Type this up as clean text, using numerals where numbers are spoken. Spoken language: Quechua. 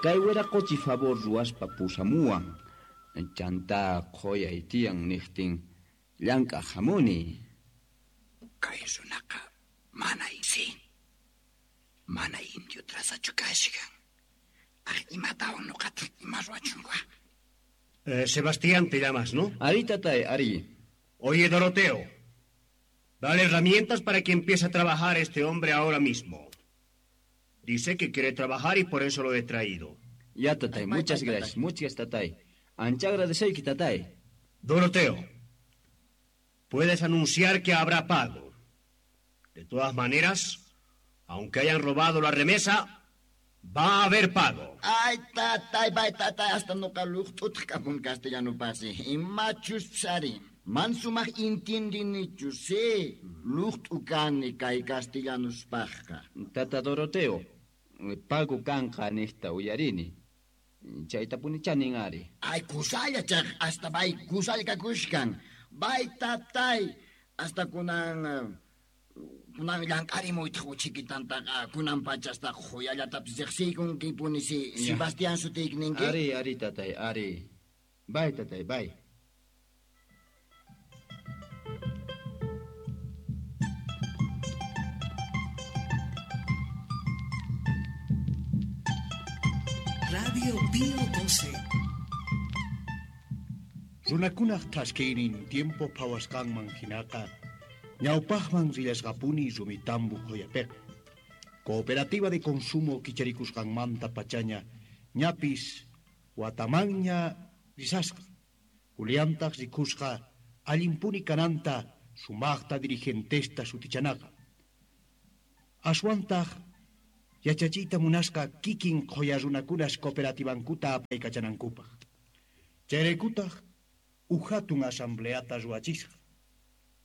Kay wiraqochi favor ruwaspa pusamuwan. Chanta qhoyay tiyan niqtin llank'aq hamuni. Kay runaqa mana si. Mana indio trazachu kashkan. Aj imatawan nuqataq ima ruwachunqa. Sebastián te llamas, ¿no? Ari, tatay, ari. Oye, Doroteo, dale herramientas para que empiece a trabajar este hombre ahora mismo. Dice que quiere trabajar y por eso lo he traído. Ya, tatay, muchas gracias, muchas tatay. Ancha agradeceyki, tatay. Doroteo, puedes anunciar que habrá pago. De todas maneras, aunque hayan robado la remesa, va a haber pago. Ay, tatay, bay, tatay, hasta nuqa luqt'utaq kapun castellano pasi. Imachus psari. Man sumaq intindinichu, sí. Luqt'u kani kay castellanuspaqqa. Tata Doroteo, pago kanqa niqta uyarini. Chaytapunichá nin ari. Ay, kusalla chaq, hasta bay kusalla kakushkan. Bay, tatay, hasta kunan kunan llank'arimuytaq uchikitantaqa kunan pachastaq quyallatapis riqsiykunkipuni si. Sebastián sutiyki ninki? Ari, ari, tatay, ari. Bay, tatay, bay. Radio Pío 12. Runakunaq thaskiynin tiempo phawasqanman hinaqa ñawpaqman rillasqapuni Rumitambo qhuyapiqa. Cooperativa de consumo kicharikusqanmanta pachaña ñapis watamanña risasqa. Juliantaq rikusqa allinpuni kananta sumaqta dirigentesta sutichanaqa. Aswantaq yachachiyta munasqa kikin qhuya runakunas cooperativankuta apaykachanankupaq. Chayraykutaq uj hatun asambleata ruwachisqa.